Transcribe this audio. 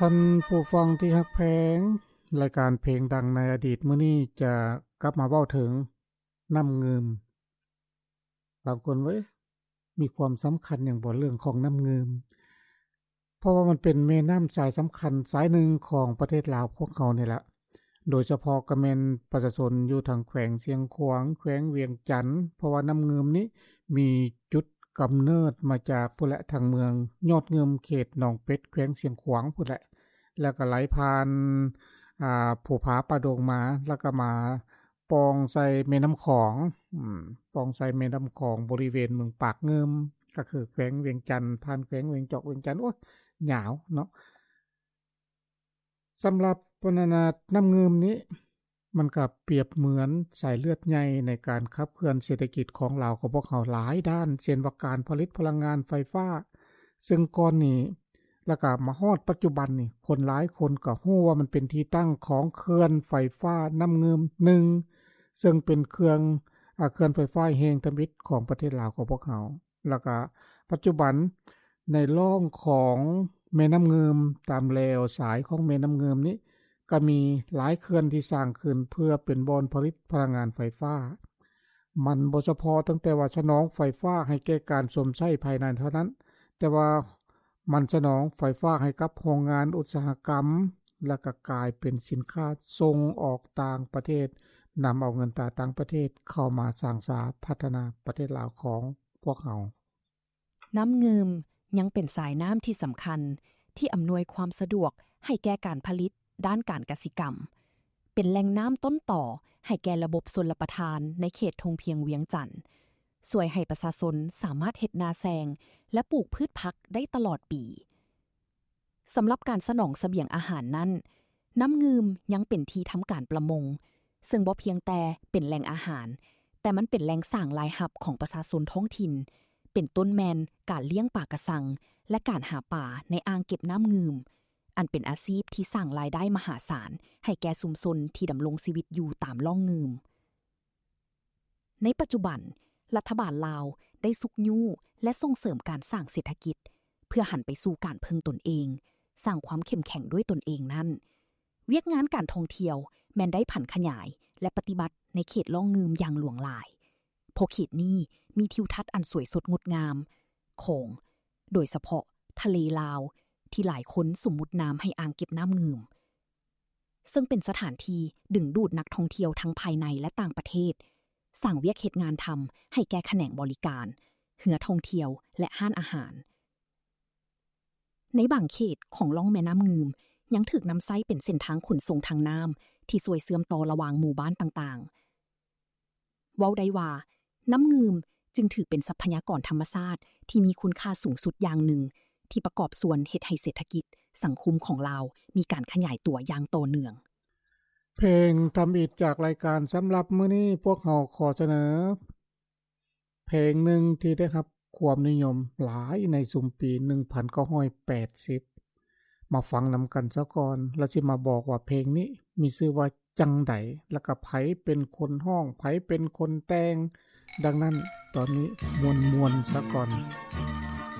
ທ່ານຜູ້ຟັງທີ່ຮັກແພງ, ລາຍການເພງດັງໃນອະດີດມື້ນີ້ຈະກັບມາເວົ້າເຖິງນ້ຳງື່ມ. ບາງຄົນເວີ້ຍ ມີຄວາມສຳຄັນຫຍັງບໍ່ເລື່ອງຂອງນ້ຳງື່ມ? ເພາະວ່າມັນເປັນແມ່ນ້ຳສາຍສຳຄັນສາຍໜຶ່ງຂອງປະເທດລາວພວກເຮົານີ້ແຫຼະ. ໂດຍສະເພາະກໍແມ່ນປະຊາຊົນຢູ່ທາງແຂວງຊຽງຂວາງ, ແຂວງວຽງຈັນ, ເພາະວ່ານ້ຳງື່ມນີ້ມີຈຸດກຳເນີດມາຈາກພຸ້ນແຫຼະ ທາງເມືອງຍອດງື່ມ ເຂດໜອງເປັດ ແຂວງຊຽງຂວາງພຸ້ນແຫຼະ ແລ້ວກໍໄຫຼຜ່ານ ອາ ພູຜາປ່າດົງມາ ແລ້ວກໍມາປ່ອງໃສ່ແມ່ນ້ຳຂອງ ອືມ ປ່ອງໃສ່ແມ່ນ້ຳຂອງບໍລິເວນເມືອງປາກງື່ມ ກໍຄືແຂວງວຽງຈັນ ຜ່ານແຂວງວຽງຈອກ ວຽງຈັນ ໂອ້ຍ ຍາວເນາະ. ສຳລັບ ອັນນັ້ນນະ ນ້ຳງື່ມນີ້ ມັນກໍປຽບເໝືອນສາຍເລືອດໃຫຍ່ໃນການຂັບເຄື່ອນເສດຖະກິດຂອງລາວຂອງພວກເຮົາຫຼາຍດ້ານ ເຊັ່ນວ່າການຜະລິດພະລັງງານໄຟຟ້າ ເຊິ່ງກ່ອນນີ້ ແລ້ວກໍມາຮອດປັດຈຸບັນນີ້ ຄົນຫຼາຍຄົນກໍຮູ້ວ່າມັນເປັນທີ່ຕັ້ງຂອງເຂື່ອນໄຟຟ້ານ້ຳງື່ມໜຶ່ງ ເຊິ່ງເປັນເຂື່ອນ ອາ ເຂື່ອນໄຟຟ້າແຫ່ງທຳອິດຂອງປະເທດລາວຂອງພວກເຮົາ. ແລ້ວກະປັດຈຸບັນໃນລ່ອງຂອງແມ່ນ້ຳງື່ມ ຕາມແລວສາຍຂອງແມ່ນ້ຳງື່ມນີ້ ກະມີຫຼາຍເຂື່ອນທີ່ສ້າງຂຶ້ນເພື່ອເປັນບ່ອນຜະລິດພະລັງງານໄຟຟ້າ. ມັນບໍ່ສະເພາະຕັ້ງແຕ່ວ່າສະໜອງໄຟຟ້າໃຫ້ແກ່ການຊົມໃຊ້ພາຍໃນເທົ່ານັ້ນ, ແຕ່ວ່າມັນສະໜອງໄຟຟ້າໃຫ້ກັບໂຮງງານອຸດສາຫະກຳ ແລ້ວກະກາຍເປັນສິນຄ້າສົ່ງອອກຕ່າງປະເທດ, ນຳເອົາເງິນຕາຕ່າງປະເທດເຂົ້າມາສ້າງສາພັດທະນາປະເທດລາວຂອງພວກເຮົາ. ນ້ຳງື່ມຍັງເປັນສາຍນ້ຳທີ່ສຳຄັນທີ່ອຳນວຍຄວາມສະດວກໃຫ້ແກ່ການຜະລິດດ້ານການກະສິກຳ, ເປັນແຫຼ່ງນ້ຳຕົ້ນຕໍໃຫ້ແກ່ລະບົບຊົນລະປະທານໃນເຂດທົ່ງພຽງວຽງຈັນ, ຊ່ວຍໃຫ້ປະຊາຊົນສາມາດເຮັດນາແຊງ ແລະ ປູກພືດຜັກໄດ້ຕະຫຼອດປີ. ສຳລັບການສະໜອງສະບຽງອາຫານນັ້ນ, ນ້ຳງື່ມຍັງເປັນທີ່ທຳການປະມົງ, ເຊິ່ງບໍ່ພຽງແຕ່ເປັນແຫຼ່ງອາຫານ, ແຕ່ມັນເປັນແຫຼ່ງສ້າງລາຍຮັບຂອງປະຊາຊົນທ້ອງຖິ່ນ, ເປັນຕົ້ນແມ່ນການລ້ຽງປາກະຊັງ ແລະ ການຫາປາໃນອ່າງເກັບນ້ຳງື່ມ, ອັນເປັນອາຊີບທີ່ສ້າງລາຍໄດ້ມະຫາສານໃຫ້ແກ່ຊຸມຊົນທີ່ດຳລົງຊີວິດຢູ່ຕາມລ່ອງງື່ມ. ໃນປັດຈຸບັນ, ລັດຖະບານລາວໄດ້ຊຸກຍູ້ ແລະ ສົ່ງເສີມການສ້າງເສດຖະກິດ ເພື່ອຫັນໄປສູ່ການເພິ່ງຕົນເອງ, ສ້າງຄວາມເຂັ້ມແຂງດ້ວຍຕົນເອງນັ້ນ, ວຽກງານການທ່ອງທ່ຽວແມ່ນໄດ້ຜັນຂະຫຍາຍ ແລະ ປະຕິບັດໃນເຂດລ່ອງງື່ມຢ່າງຫຼວງຫຼາຍ, ເພາະເຂດນີ້ມີທິວທັດອັນສວຍສົດງົດງາມຂອງ ໂດຍສະເພາະທະເລລາວ ທີ່ຫຼາຍຄົນສົມມຸດນາມໃຫ້ອ່າງເກັບນ້ຳງື່ມ. ເຊິ່ງເປັນສະຖານທີ່ດຶງດູດນັກທ່ອງທ່ຽວທັງພາຍໃນ ແລະ ຕ່າງປະເທດ, ສ້າງວຽກເຮັດງານທຳໃຫ້ແກ່ຂະແໜງບໍລິການ, ເຮືອທ່ອງທ່ຽວ ແລະ ຮ້ານອາຫານ. ໃນບາງເຂດຂອງລ່ອງແມ່ນ້ຳງື່ມ ຍັງຖືກນຳໃຊ້ເປັນເສັ້ນທາງຂົນສົ່ງທາງນ້ຳ ທີ່ຊ່ວຍເຊື່ອມຕໍ່ລະຫວ່າງໝູ່ບ້ານຕ່າງໆ. ເວົ້າໄດ້ວ່າ ນ້ຳງື່ມຈຶ່ງຖືເປັນຊັບພະຍາກອນທຳມະຊາດທີ່ມີຄຸນຄ່າສູງສຸດຢ່າງໜຶ່ງ ທີ່ປະກອບສ່ວນເຮັດໃຫ້ເສດຖະກິດ, ສັງຄົມຂອງລາວມີການຂະຫຍາຍຕົວຢ່າງຕໍ່ເນື່ອງ. ເພງທຳອິດຈາກລາຍການສຳລັບມື້ນີ້ ພວກເຮົາຂໍສະເໜີເພງໜຶ່ງທີ່ໄດ້ຮັບຄວາມນິຍົມຫຼາຍໃນຊຸມປີໜຶ່ງພັນເກົ້າຮ້ອຍແປດສິບ ມາຟັງນຳກັນຊະກ່ອນ ແລ້ວຊິມາບອກວ່າເພງນີ້ມີຊື່ວ່າຈັ່ງໃດ ແລ້ວກະໃຜເປັນຄົນຮ້ອງ ໃຜເປັນຄົນແຕ່ງ. ດັ່ງນັ້ນ ຕອນນີ້ມ່ວນໆຊະກ່ອນ.